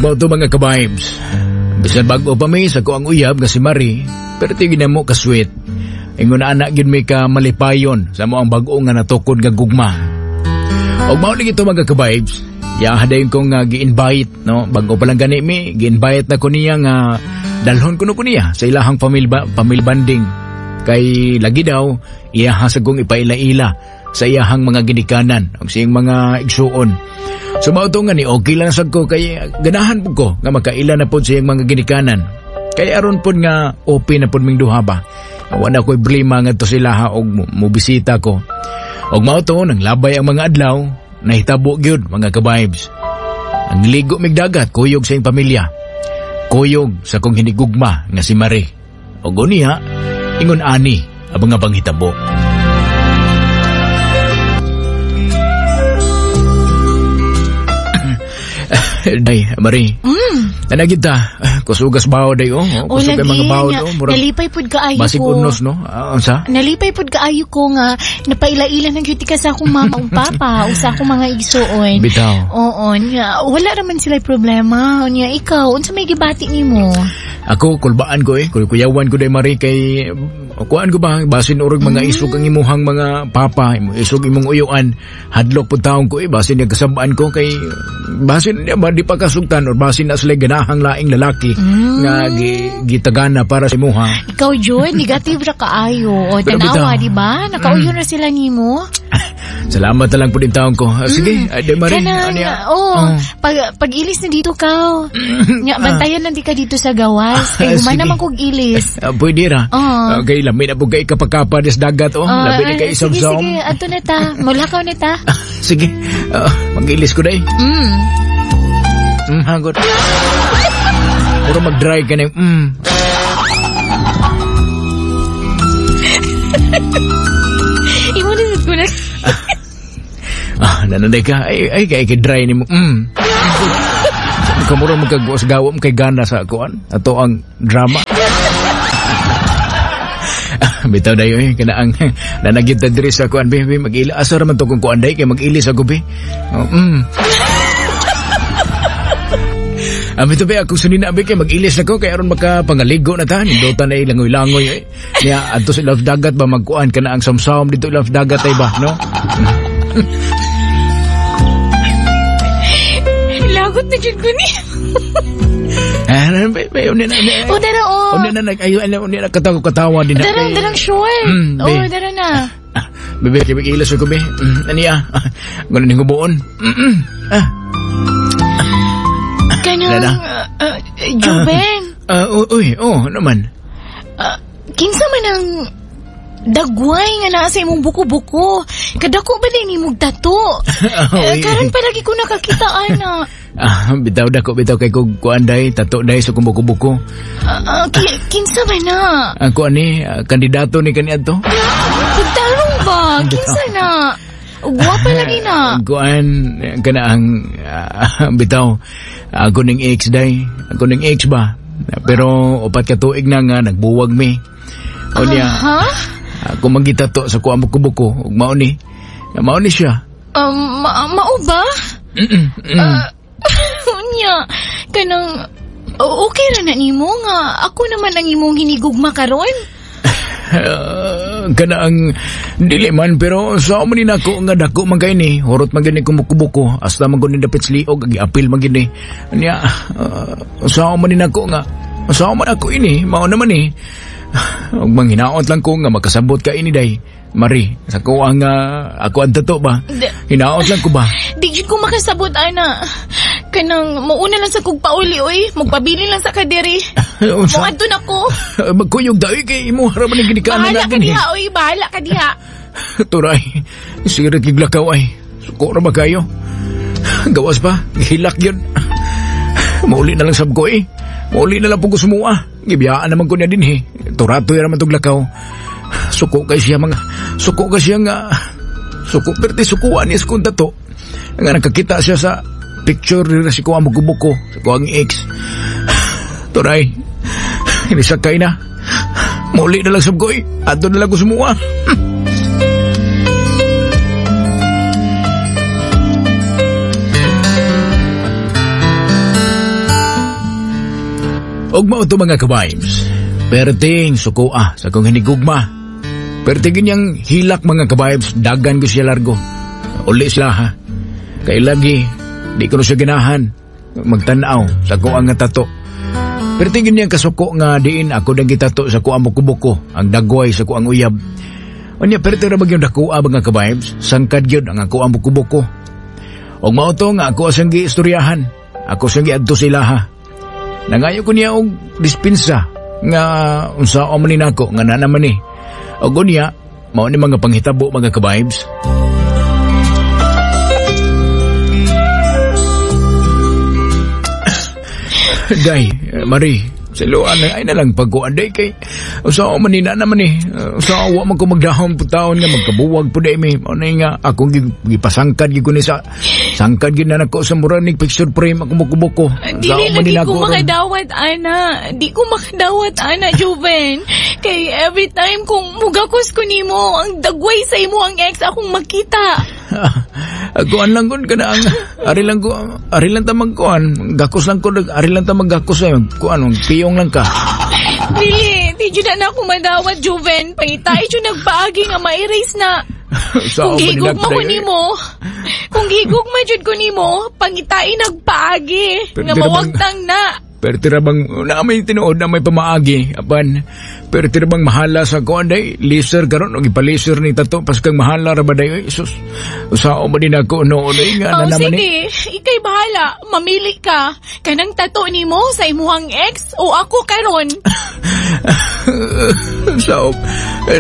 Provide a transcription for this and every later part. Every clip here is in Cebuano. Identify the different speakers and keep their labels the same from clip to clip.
Speaker 1: Ug mao to, mga ka-vibes. Bisan bag-o pa mi sa akoang uyab nga si Marie, pero tigin na mo ka-sweet. Ingon na anak gyud mi ka malipayon sa among bag-o nga natukod nga gugma. Og mao lagi to, mga ka-vibes. Ya dayon kong gi-invite, no? Bag-o pa lang gani mi, gi-invite na ko niya nga dalhon kuno ko niya sa ilahang family bonding. Kay lagi daw iyaha sa kong ipaila-ila sa iyahang mga ginikanan ug siyang mga igsuon. So mao to nga ni okay lang sad ko kay ganahan pud ko nga makaila na pud sa iyang mga ginikanan. Kay aron pud nga open na pud ming duha ba. Wala ko'y problema ngadto sila ha og mobisita ko. Og mao to nang labay ang mga adlaw, nahitabo gyud, mga ka-vibes. Ang ligo mig dagat kuyog sa iyang pamilya. Kuyog sa kong hinigugma nga si Marie. Og unya, ingon ani ang mga panghitabo. Day, Marie. Ana kita, kusugas bawo day oh.
Speaker 2: O
Speaker 1: Kusog
Speaker 2: lagi
Speaker 1: kay mga bawo
Speaker 2: nga,
Speaker 1: oh. Murag
Speaker 2: nalipay pud kaayo
Speaker 1: basig
Speaker 2: ko.
Speaker 1: unos, no? Ah, unsa?
Speaker 2: Nalipay pud kaayo ko nga napaila-ila ng gyud ka sa akong mama ug papa o sa akong mga igsuon.
Speaker 1: Bitaw.
Speaker 2: Oo, nya wala raman sila problema. Nya ikaw, unsa may gibati nimo?
Speaker 1: Ako, kulbaan ko eh. Kuyawan ko day, Marie, kay kuan ko ba, basin urog mga isog ang imuhang mga papa, isog imong uyuan, hadlok pud taong ko eh, basin yung kasabaan ko kay basin di ba di pa kasugtan or basin na sila ganahang laing lalaki nga gitagana para sa imuha.
Speaker 2: Ikaw jud, negative ra kaayo. O
Speaker 1: Pero
Speaker 2: tanawa,
Speaker 1: bitaw.
Speaker 2: di ba? Nakauyon na sila nimo.
Speaker 1: Salamat na lang po din taong ko. Ah, sige, ay, day, Marie.
Speaker 2: Kanang,
Speaker 1: Ano ya?
Speaker 2: oh,
Speaker 1: Oh.
Speaker 2: pag ilis na dito ka. Nya bantayan lang di ka dito sa gawas. Kay
Speaker 1: Ah,
Speaker 2: human
Speaker 1: sige.
Speaker 2: naman kog ilis.
Speaker 1: Ah, pwede ra.
Speaker 2: Oo.
Speaker 1: Okay, lami na po kay kapakapa des dagat oh.
Speaker 2: Ah,
Speaker 1: Labi na kay
Speaker 2: ah, sige,
Speaker 1: isang.
Speaker 2: sige, ato na ta. Mulakaw na ta.
Speaker 1: Sige. Ah, mag-ilis ko day. Hagot. Puro mag-dry ka na yung.
Speaker 2: Imo na sad ko na.
Speaker 1: Ah, nananay ka. Ay, ay, kay kay dry ni mo. Kamura magkagawas gawa mo kay gana sa kuan. Ato ang drama. Ah, bitaw dayo eh, kana ang nanagid ta diri sa kuan be, be mag-ila asa ra man to kung kuan day kay mag-ilis ako be. Oh. Ah, bitaw be ako sunina be kay mag-ilis ako kay aron makapangaligo na ta nindota na ilangoy-langoy eh. Niya adto sa ilawf dagat ba magkuan kana ang samsam dito ilawf dagat ay ba, no?
Speaker 2: Lagot na jud ko ni.
Speaker 1: Ah, be, be, unya na, unya.
Speaker 2: O dara oh.
Speaker 1: Unya na nag ayo ano unya na katawa katawa din na.
Speaker 2: Darang darang short.
Speaker 1: Be.
Speaker 2: Oh, dara na.
Speaker 1: Ah, bebe, kay mag-ilis ako be. Ani ah. Ganun ning hubuon. Ah,
Speaker 2: Kanang
Speaker 1: Lala.
Speaker 2: Juben.
Speaker 1: Ah, uy, oh, naman.
Speaker 2: Ah, kinsa man ang dagway nga naa sa imong buko-buko? Kadako ba din imong tato?
Speaker 1: Oh,
Speaker 2: Eh, karon pa lagi ko nakakita ana.
Speaker 1: Ah, bitaw dako bitaw kay kog kuan day, tato day sa kong buko-buko.
Speaker 2: Ah, ah, kinsa man na?
Speaker 1: Ang kuan ni, kandidato ni kaniadto.
Speaker 2: Pagtarong ba? Kinsa na? Gwapa lagi na.
Speaker 1: Kuan kana ang bitaw ako ning ex day, ako ning ex ba. Pero 4 ka tuig na nga nagbuwag mi. O niya,
Speaker 2: Ha?
Speaker 1: Ako magitato sa kuang buko-buko ug mao ni. Mao ni siya.
Speaker 2: Mao ba? Ah, unya, kanang okay ra na nimo nga ako naman ang imong hinigugma karon.
Speaker 1: Ah, kana ang dili man pero sa mo ni nako nga dako man kay ni hurot man gini kumukubuko hasta man gud ni dapit liog giapil man gini nya sa mo ni nako nga sa man ako ini mao naman ni ug manghinaot lang ko nga makasabot ka ini day Mari sa ko ang ako ang tato ba hinaot lang ko ba.
Speaker 2: Di jud ko makasabot ana. Kanang muuna lang sa kog pauli oy, magpabili lang sa kadiri.
Speaker 1: Unsa?
Speaker 2: Moadto na ko.
Speaker 1: Magkuyog daw kay imo ra man ni ginikanan
Speaker 2: Bahala ka
Speaker 1: na
Speaker 2: diha oy, bahala ka diha.
Speaker 1: Turay, sirit giglakaw ay. Suko ra ba kayo? Gawas pa, gihilak yun. Mauli na lang sab ko eh. Mauli na lang po ko sumua. Gibiyaan naman ko niya din eh. Turatoy ra man tong lakaw. Suko kay siya mga, suko kay siya nga, suko perti sukuan niya sa kong tato. Nga nakakita siya sa picture nila si kuha buko-buko, sa kuha ang ex. Turay, inisakay na. Mauli na lang sab ko eh. Ato na lang ko sumua. Og mao to, mga ka-vibes. Perting suko sa akong hinigugma. Perting ganyang hilak, mga ka-vibes, dagan ko siya largo. Uli sila ha. Kay lagi, di ko na siya ganahan magtanaw sa ako ang tato. Perting ganyang kasuko nga diin ako nang gitato sa ko ang buko-buko, ang dagway sa ko ang uyab. Unya, perti ra yung dakoa, mga ka-vibes, sangkad gyud ang ako ang buko-buko. Og mao to nga ako asang giistoryahan. Ako siyang giadto sila ha. Nangayo ko niya og dispensa nga unsa man ni nako nga na naman ni. Og unya, mao ni mga panghitabo, mga ka-vibes. Day, Marie, siluan na ay na lang pagkuan day kay usa man ni na naman ni. Usa wa man ko magdahom po taon nga magkabuwag po day mi. Mao na nga akong gipasangkad gid ko ni sa sangkad gid na nako sa mura ning picture frame akong buko-buko.
Speaker 2: Dili lagi ko makadawat, ana. Di ko makadawat, ana, Joven. Kay every time kung mugakos ko nimo, ang dagway sa imo ang ex akong makita.
Speaker 1: Kuan lang kun kana ang ari lang ko, ari lang ta magkuan, gakos lang ko, ari lang ta maggakos ay kuan, piyong lang ka.
Speaker 2: Dili, di jud na ako madawat, Joven. Pangitay jud nagpaagi nga ma-erase na.
Speaker 1: Sa
Speaker 2: Kung gihigugma ko nimo, kung gihigugma jud ko nimo, pangitain nagpaagi
Speaker 1: Pero
Speaker 2: nga
Speaker 1: di naman-
Speaker 2: mawagtang na.
Speaker 1: Pero tira bang na may tinuod na may pamaagi apan pero tira bang mahala sa kuan day laser karon og ipalaser ni tato paskang mahala ra ba day, oy sus, usa man din ako no day nga
Speaker 2: Oh,
Speaker 1: na naman ni.
Speaker 2: Sige, ikay bahala. Mamili ka. Kanang tato nimo sa imuhang ex o ako karon.
Speaker 1: So,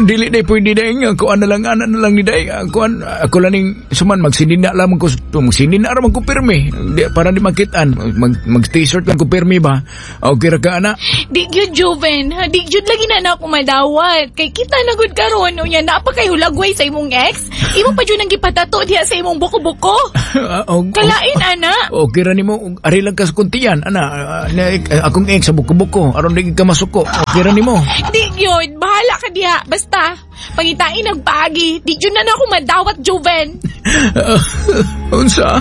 Speaker 1: dili day pwede day nga kuan na lang, ana na lang ni day kuan ako lang ning suman magsinina lamang ko, magsinina ra man ko pirmi di, para di makitaan mag t-shirt lang ko pirmi ba, okay ra ka ana.
Speaker 2: Di gyud, Joven. Di gyud lagi na na ako madawat. Kay kita na gud karon unya naa pa kay hulagway sa imong ex. Imo pa jud ang gipatato diha sa imong buko-buko.
Speaker 1: Ah,
Speaker 2: Kalain ana.
Speaker 1: Okay ra nimo ari lang ka sa kuntian ana, akong ex sa buko-buko aron di ka masuko, okay ra nimo.
Speaker 2: Di gyud, bahala ka diha. Basta pangitain nagpaagi. Di gyud na na ako madawat, Joven.
Speaker 1: Unsa?